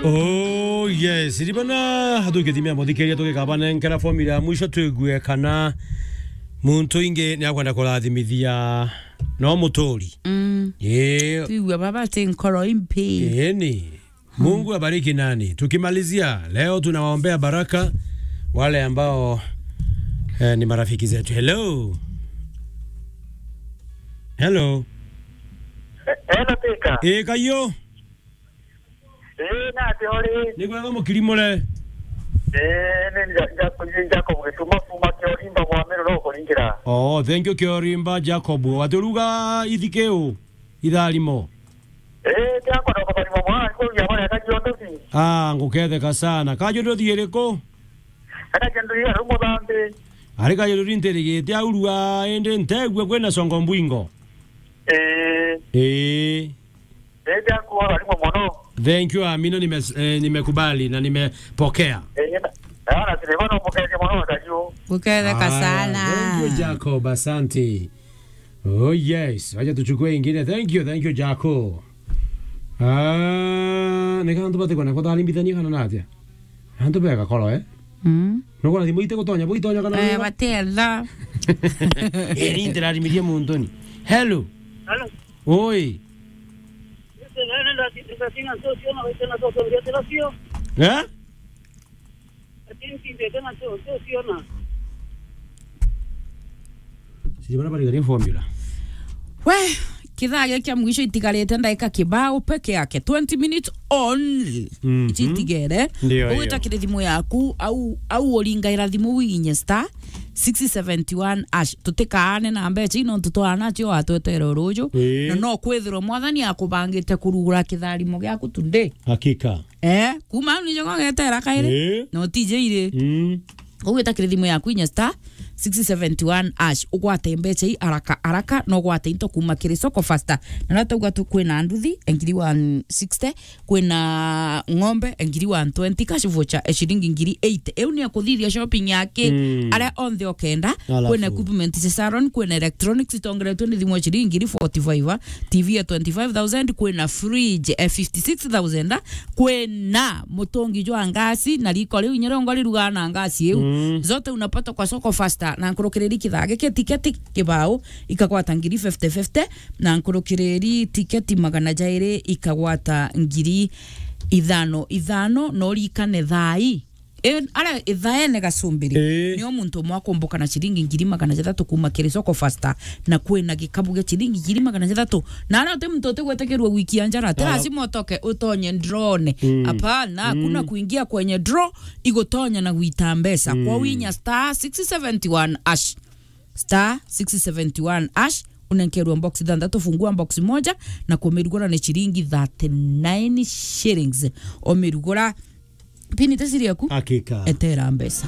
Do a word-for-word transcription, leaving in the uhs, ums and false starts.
Oh, yes. Ribana, tukithimia muthikiria tukikabanenkera formula ya mwisho twigue kana muntu ingi ni akwenda kurathimithia no muturi. Mm. Ii. Tuigue baba ti nkoro impi. Ii ni. Mungu abariki nani. Tukimalizia, leo tunawaombea baraka wale ambao, eh, ni marafiki zetu. Hello. Hello. Eh, hello, Tika. Eh, kayo. Eh, nati uri? Ni kwega mukiri mure? Eh, ni nja-, nja-, nja-, Jacob Gituma kuma Kiorimba kwa Meru no kuringira. Oh, thank you Kiorimba Jacob. Waturuga ithikeu itharimo. Eh, tiakwa no kubarima mwana, nikurugia mwana akajua nduthi. Ah, nguketheka sana. Kajua nduthi iriku? Akajua nduthi ya rumo thambi. Ari kajua nduthi ntirigite aurua, indi ntegua kwina songo mbwingo. Eh. Eh. Eh, tiakwa barimo mono. Thank you, Amina, nime-, eh, nimekubali na nimepokea. Eh, na, na, na, sile bana upokea mono, kajua. Uketheka sana. Thank you, Jacob, asante. Oh yes, wacha tuchukue ingine. Thank you, thank you Jaco. Ah, ni kantu bati kona kutharimbithania kana natia? Antu bega koro, eh? Mm. No kona thimu ite gutonya, bo itonya kana Eh, wira? Batela. Eh, ni ndirarimirie muntu ni. Hello. Hello. Oi. Ese nene ndati-, ndati na socio na waitena socio, ndati na socio. Eh? Lakini sindete na sio, sio siona. Sijui bana bari gari formula. We, kithaa giki kia mwisho itigarite ndagika kibao peke yake, twenty minutes only. Mhm. Ici itigere. Ndio, ndio. Ugwita kiri thimu yaku, au, au uringaira thimu winye star six seventy one hash. Tutikaane na mbeca ino, nontu twana cio watwetere ruju. Ii. Na no kwithirwa Mwathani akubangite kurugura kitharimo giaku today. Hakika. Eh, kuma au nijo gogetera kairi, eh, na utije iri. Mm. Ugwita kiri thimu yaku inya star six seventy one hash, ugwate mbeca i haraka haraka, na ugwate into kuma kiri Soko Faster. Na riria twauga tu kwina nduthi, ngiri one sixty, kwina ng'ombe, ngiri one twenty, cash voucher, e, ciringi ngiri eight. Iu ni ya kuthithia shopping yake. Mm. Aria onthe okenda, alafu kwina equipment cia salon, kwina electronics itongeretwe ni thimu ya ciringi ngiri forty-five, T V ya twenty-five thousand, kwina fridge, eh, fifty-six thousand, kwina mutungi jwa ngasi na riko riu inya rongo rirugaa na ngasi iu. Mm. Zote unapata kwa Soko Faster, na nkurukiriri kithaa giki tiketi kibao ikagwata ngiri fifty fifty, na nkurukiriri tiketi magana jairi ikagwata ngiri ithano ithano, na urikane thaa ii. E, ara ithaene gacumbiri. Ii. Nio muntu umwe akumbuka na ciringi ngiri magana jathatu kuma kiri Soko Faster, na kwina gikabu gia ciringi ngiri magana jathatu. Na ara uti muntu utigwetikirua gwikia njara, ati lazima utoke utonye ndrone. Mm. Hapana, hakuna kuingia kwenye draw, igutonya na gwita mbeca. Kwa winya star six seventy one hash. Star six seventy one hash, unenkerwa box ithanthatu, fungua box moja, na kumirugura ni ciringi thirty nine shillings. Umirugura, pini te siri yaku? Hakika. Etera mbeca.